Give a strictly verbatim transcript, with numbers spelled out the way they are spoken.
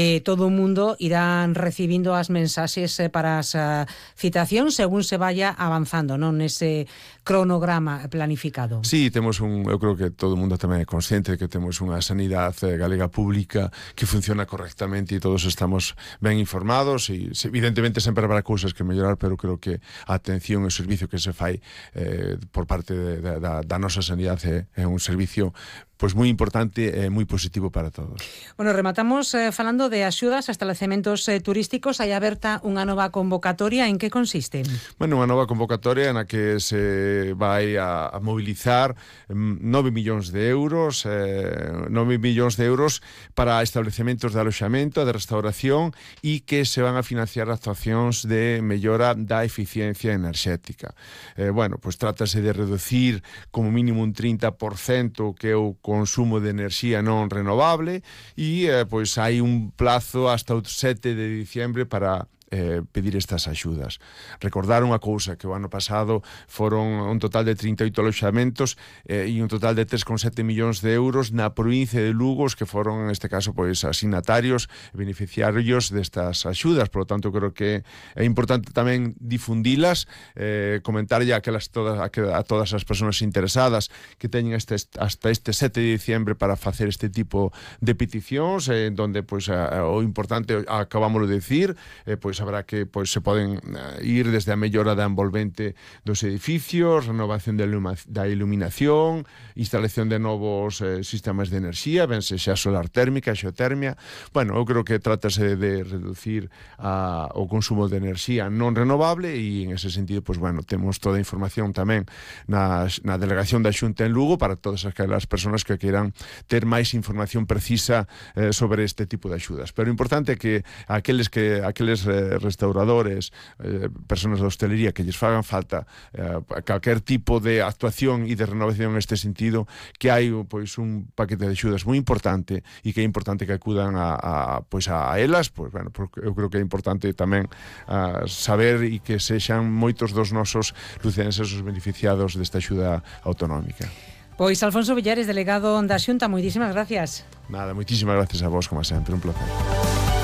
Eh, todo o mundo irán recibindo as mensaxes eh, para as uh, citacións según se vaya avanzando, non, nese cronograma planificado. Sí, temos un, eu creo que todo o mundo tamén é consciente de que temos unha sanidade galega pública que funciona correctamente e todos estamos ben informados e evidentemente sempre habrá cousas que mellorar, pero creo que a atención e o servicio que se fai eh, por parte de, de, da, da nosa sanidade é, é un servicio pois moi importante e moi positivo para todos. Bueno, rematamos eh, falando de axudas a establecementos eh, turísticos. Hai aberta unha nova convocatoria. En que consiste? Bueno, unha nova convocatoria na que se vai a, a mobilizar nove millóns de euros, eh, nove millóns de euros para establecementos de aloxamento, de restauración e que se van a financiar actuacións de mellora da eficiencia enerxética. Eh, bueno, pois trátase de reducir como mínimo un trinta por cento que é o consumo de enerxía non renovable e eh, pois hai un plazo hasta o sete de diciembre para Eh, pedir estas axudas. Recordar unha cousa, que o ano pasado foron un total de trinta e oito aloxamentos eh, e un total de tres coma sete millóns de euros na provincia de Lugo, que foron, neste caso, pois, asignatarios e beneficiarios destas axudas. Por lo tanto, creo que é importante tamén difundilas, eh, comentarlle a, aquelas todas, a, a todas as persoas interesadas que teñen este, hasta este sete de diciembre para facer este tipo de peticións, eh, donde, pois, a, o importante, acabámoslo de decir, eh, pois, habrá que pois, se poden uh, ir desde a mellora da envolvente dos edificios, renovación de iluma, da iluminación, instalación de novos eh, sistemas de enerxía, ben sexa solar térmica, xeotermia. Bueno, eu creo que trátase de reducir a, o consumo de enerxía non renovable e en ese sentido, pois, bueno, temos toda a información tamén na, na delegación da Xunta en Lugo para todas aquelas persoas que queiran ter máis información precisa eh, sobre este tipo de axudas. Pero o importante é que aqueles que aqueles eh, restauradores, eh, personas da hostelería que lles fagan falta eh, calquer tipo de actuación e de renovación neste sentido, que hai pois un paquete de axudas moi importante e que é importante que acudan a, a, pois a elas, pois, bueno, porque eu creo que é importante tamén a, saber e que sexan moitos dos nosos lucenses os beneficiados desta axuda autonómica. Pois Alfonso Villares, delegado da Xunta, moitísimas gracias. Nada, moitísimas gracias a vos, como sempre, un placer.